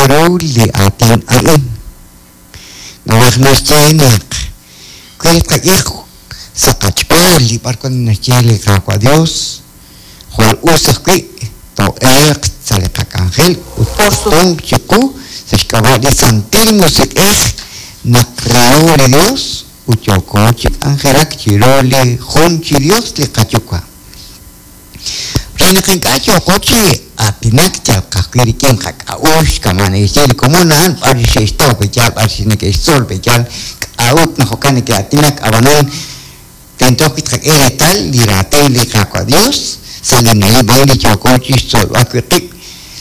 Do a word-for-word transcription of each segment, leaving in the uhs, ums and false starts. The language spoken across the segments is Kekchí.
ru li aatin a'in naraj naxye naq wi tqak'e sa' qach'ool li b'ar wan naxye li Qaawa' Dios jwal us ajwi' too'elq sa' li qak'anjel ut k'utunq chiqu sa' xk'ab'a' li Santil Musiq'ej naq reho li Dios ut yooko chi k'anjelak chiru li jun chi Dios li qayuwa'. Re naq ink'a' yooko chi aatinak yal ka'ajwi' rik'in qak'a'uxl kama' neke'xye li komon a'an b'ar xe'xtaw pe'yaal b'ar neke'xtzol pe'yaal k'a'ut naq jo'kan neke'aatinak ab'anan tento ajwi' tqak'e reetal li raatin li Qaawa' Dios sa' li na'leb' a'in li yooko chi xtzolb'al wi' qib'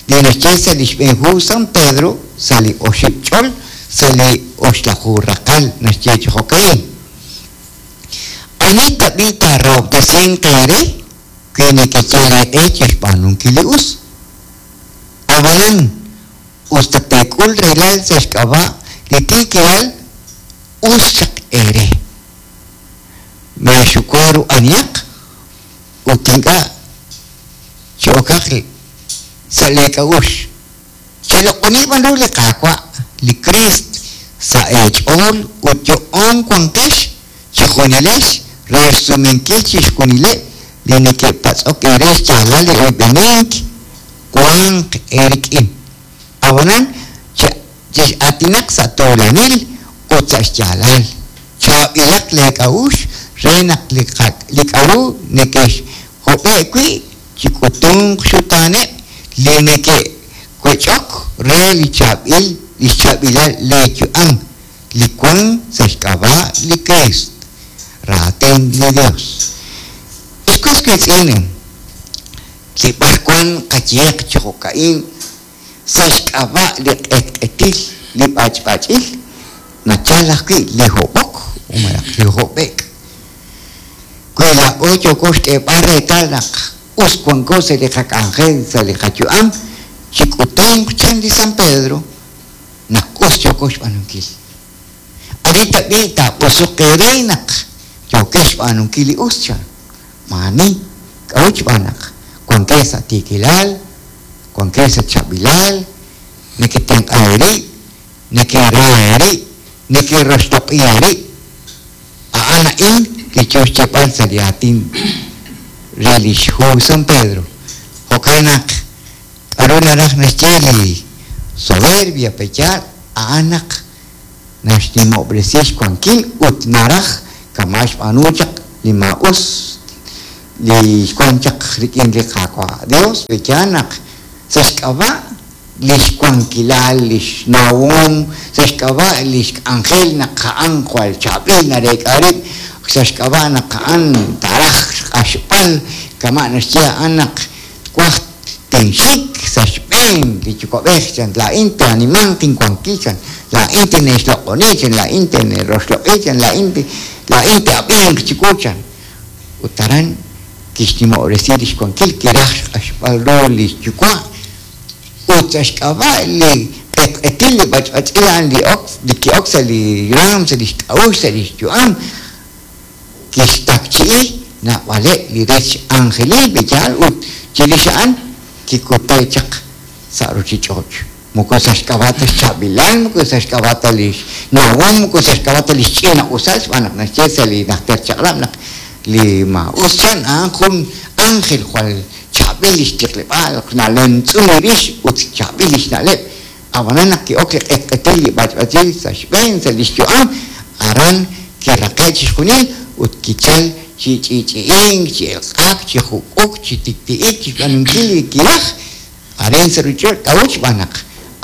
li naxye sa' li xb'een hu San Pedro sa' li oxib' ch'ol sa' li oxlaju raqal naxye chi jo'ka'in ani tab'i taarahob'tesinq eere wi nekeyal eeq'e chi xb'aanunkil li us ab'anan us ta teek'ul rahilal sa' xk'ab'a' li tiikilal us chaq eere meexuwa ru anihaq ut ink'a' chi'okaq sa' leek'a'uxl cheloq'oni b'an ru li Qaawa' li Kriist sa' eech'ool ut yo'oon wanqex chijunilex re xsumenkil chixjunileb' li neke'patz'ok eere xyaalal li oyb'enink wanq eerik'in ab'anan chex'aatinaq sa' tuulanil ut sa' xyaalal chaab'ilaq leek'a'uxl re naq li k'a'ru neke'xhob'e' wi' chik'utunq xutaaneb' li neke'wech'ok re li chaab'il li xchaab'ilal leeyu'am li wan sa' xk'ab'a' li Kriist raatin li Dios. Ex was wiitz'in li b'ar wan qayehaq chi jo'ka'in sa' xk'ab'a' li q'etq'etil li b'ach'b'ach'il nachal ajwi' li hob'ok malaj li hob'ek' wi laa'o yooko xk'eeb'al reetal naq us wanko sa' li qak'anjel sa' li qayu'am chik'utunq chan li San Pedro naq us yooko xb'aanunkil ani tab'i taab'usuq eere naq yookex xb'aanunkil li us chan maani k'a'ut xb'aan naq wankex sa' tiikilal wankex sa' chaab'ilal neketenq'a eerib' nekerra eerib' nekeroxloq'i eerib' a'an a'in li yo xyeeb'al sa' li aatin re li xhu San Pedro jo'kan naq k'a'ru naraj naxye li soberbia pe'yaal a'an naq naxnimob'resi xwankil ut naraj kama' xb'aanu chaq li maa'us li xwan chaq rik'in li Qaawa' Dios pe'yaal naq sa' xk'ab'a' li xwankilal li xnawom sa' xk'ab'a' li xk'anjel naq a'an jwal chaab'il nareek'a rib' sa' xk'ab'a' naq a'an taraj xq'axb'al kama' naxye a'an naq twaj tinxik sa' xb'een li yuwa'b'ej chan laa'in taanimanq inwankil chan laa'in tine'xloq'oni chan laa'in tine'roxloq'i chan laa'in laa'in te'ab'inq chiwu chan ut aran kixnimob'resi li xwankil kiraj xq'axb'al ru li xyuwa' ut sa' xk'ab'a' li q'etq'etil li b'ach'b'ach'il a'an li ok li ki'ok sa' li raam sa' li xk'a'uxl sa' li xyu'am kixtakchi'i naab'aleb' li rech anjelil pe'yaal ut chirix a'an kikute' chaq sa' ruchich'och' moko sa' xk'ab'a' ta xchaab'ilal moko sa' xk'ab'a' ta li xnawom moko sa' xk'ab'a' ta li xch'ina'usal xb'aan naq naxye sa' li najter chaq'rab' naq li maa'us chan a'an jun ángel jwal chaab'il li xtiqleb'aal nalemtz'un rix ut chaab'il li xna'leb' ab'anan naq ki'ok li q'etq'etil li b'ach'b'ach'il sa' xb'een sa' li xyu'am aran kiraqe' chixjunil ut kichal chi ch'i'ch'i'ink chi elq'ak chi juk'uk chi tikti'ik chi xb'aanunkil li kiraj arin sa' ruchich'och' k'a'ut xb'aan naq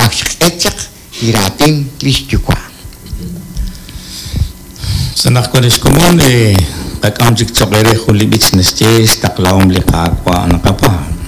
ak xq'et chaq li raatin li xyuwa'. Sa' naq wan lix komon qak'am chik choq' eere jun li b'ich naxye xtaqlahom li Qaawa' naqapaab'.